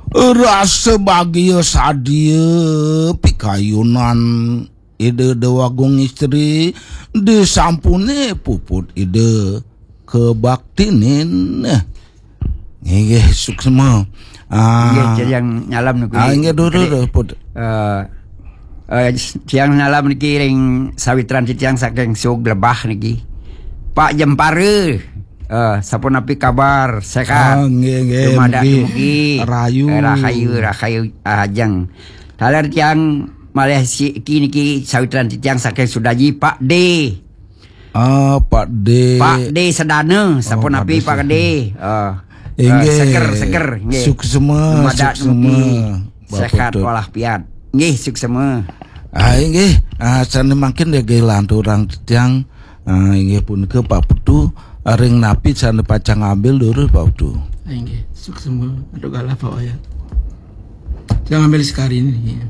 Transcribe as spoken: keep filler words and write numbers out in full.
Rasa bagia sadia pikayunan Ida Dewagung Istri disampune puput Ida kebaktinin. Inggih, suksma. Ah, Inggih, titiang nyalam niki. Ah, inggih, duh, duh, duh, put. Eh, eh, titiang nyalam niki ring sawitran titiang saking Sug Lebah niki. Pak Jempara. Eh, sapunapi kabar? Sehat? Ah, inggih, inggih, Dumadak mugi dumugi. Rahayu. Eh, rahayu, rahayu, ah, ajeng. Taler tiang malih siki niki sawitran titiang saking Sudaji, Pak D. Ah, Pak D. Pak D Sedana, sapunapi Pak D Pak D. Ah, Inggih. eh, seger, seger, nggih. Suksma, Dumadak suksma, dumugi. Bapak Sehat Tut. Walafiat. Nggih, suksma. Ah, inggih. Ah, sane mangkin nggih lanturang titiang. Ah, inggih punika Pak Putu, ring napi sane pacang ngambil durus Pak Putu. Inggih, suksma, aduh galah Pak Wayat. Saya ngambil sekali ini.